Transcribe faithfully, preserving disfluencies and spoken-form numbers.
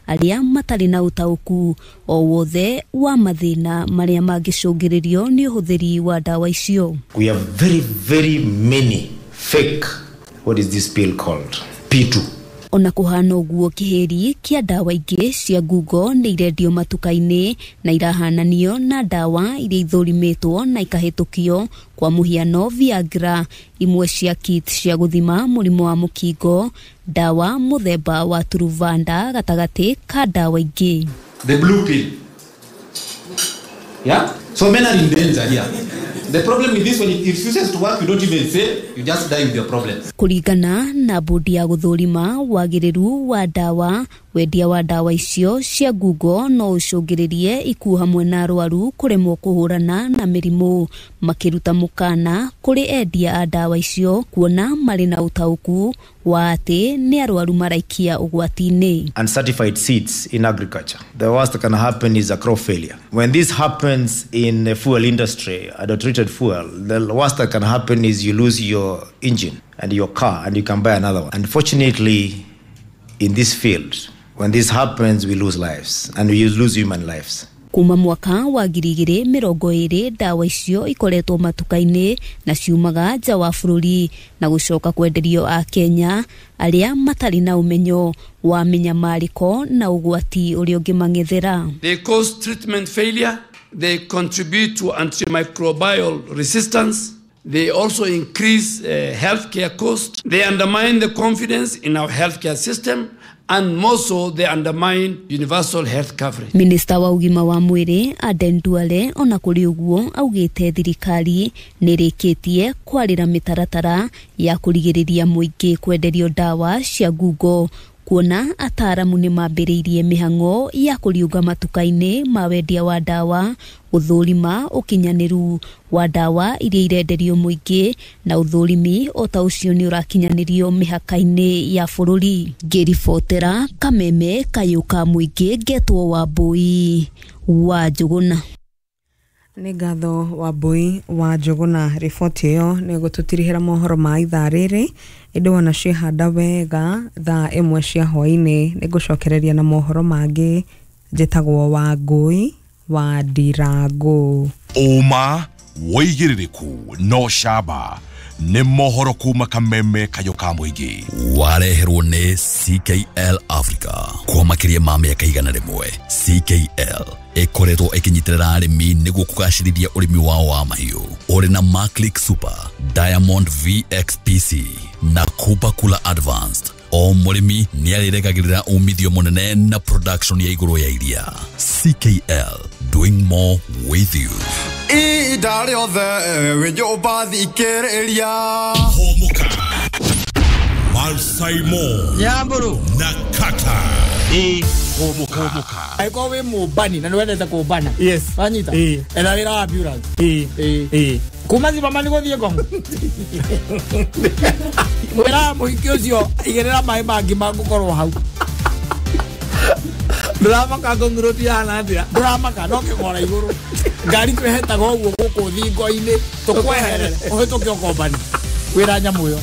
arĩa matarĩ na ũtaũku o wothe wa mathĩna marĩa mangĩcũngĩrĩrio nĩ ũhũthĩri wa ndawa icio. We have very very many fake, what is this pill called? P two. Ona kuhana ũguo kĩhĩri kĩa ndawa ingĩ cia ngungo nĩ irendio matuka-inĩ na irahananio na ndawa iria ithũrimĩtwo na ikahĩtũkio, kwa mũhiano Viagra, imwe cia kit cia gũthima mũrimũ wa mũkingo, ndawa mũthemba wa Truvada gatagatĩ ka ndawa ingĩ. The blue pill. Yeah? So men are in danger here. The problem with this, when it refuses to work, you don't even say, you just die with your problems. Kuringana na bodi ya gũthũrima wagĩrĩru wa ndawa, wendia wa ndawa icio cia ngungo no ũcũngĩrĩrie ikuũ hamwe na arwaru kũremwo kũhũrana na mĩrimũ, makĩruta mũkana kũrĩ endia a ndawa icio kuona marĩ na ũtaũku wa atĩ nĩ arwaru maraikia ũgwati-inĩ. Uncertified seeds in agriculture. The worst that can happen is a crop failure. When this happens in the fuel industry, adulterated fuel, the worst that can happen is you lose your engine and your car and you can buy another one. Unfortunately, in this field, when this happens, we lose lives and we lose human lives. Kuma mwaka wa ngiri igĩrĩ mĩrongo ĩrĩ ndawa icio ikoretwo matuka-inĩ na ciumaga nja wa bũrũri na gũcoka kwenderio a Kenya arĩa matarĩ na ũmenyo wa mĩnyamarĩko na ũgwati ũrĩa ũngĩmang'ethera. They cause treatment failure, they contribute to antimicrobial resistance, they also increase uh, healthcare costs, they undermine the confidence in our healthcare system, and more so they undermine universal health coverage. Minister wa ũgima wa mwĩrĩ Aden Duale ona kũrĩ ũguo augĩte thirikari nĩrĩkĩtie kwarĩra mĩtaratara ya kũrigĩrĩria mũingĩ kwenderio ndawa cia ngungo, kuona ataaramu nĩ mambĩrĩirie mĩhang'o ya kũriũnga matuka-inĩ ma wendia wa ndawa, ũthũrima ũkinyanĩru wa ndawa iria irenderio mũingĩ na ũthũrimi o ta ũcio nĩ ũrakinyanĩrio mĩhaka-inĩ ya bũrũri. Ngĩribotera Kameme kayũ ka mũingĩ, ngetwo Wambui wa Njũgũna. Nĩ ngatho Wambui wa Njũgũna. Riboti ĩyo nĩ gũtũtirihĩra mohoro ma ithaa rĩrĩ, ĩndĩ wona ciehanda wega thaa ĩmwe cia hwaĩ-inĩ nĩ ngũcokereria na mohoro mangĩ. Njĩtagwo Wangũi wa Ndirangũ. Ũma wĩigĩrĩrĩku no camba nĩ mohoro kuma Kameme kayũ ka mũingĩ. Wareherwo nĩ C K L Africa kwa makĩria ma mĩaka igana rĩmwe. C K L ĩkoretwo ĩkĩnyitĩrĩra arĩmi nĩguo kũgacĩrithia ũrĩmi wao wa mahiũ. Ũrĩ na Maclick Super, Diamond V X P C na Kupa Kula Advanced. O mũrĩmi nĩarĩrekagĩrĩra umithio mũnene na production ya igũrũ ya iria. C K L, doing more with you. Ihinda rĩothe wĩ nyũmba thikĩrĩria. Hũmũka Malsaimo Nyamburu na Kata. Ĩ hũmũka. Angĩkorwo wĩ mũmbani na nĩwendete kũmbana, yes, wanyita etha wĩra wa ambulance. Ĩ ĩ kuma Zimmerman gũthiĩ Ngong mwĩra mũhiki ũcio igĩrĩra maĩ mangĩ mangũkorwo hau. Ndũramaka Ngong Road ihana atĩa? Ndũramaka no kĩgora igũrũ ngari twĩhetaga ũguo gũkũ thingo-inĩ tũkweherere ũhĩtũke ũkombani wĩra nyamũ ĩyo.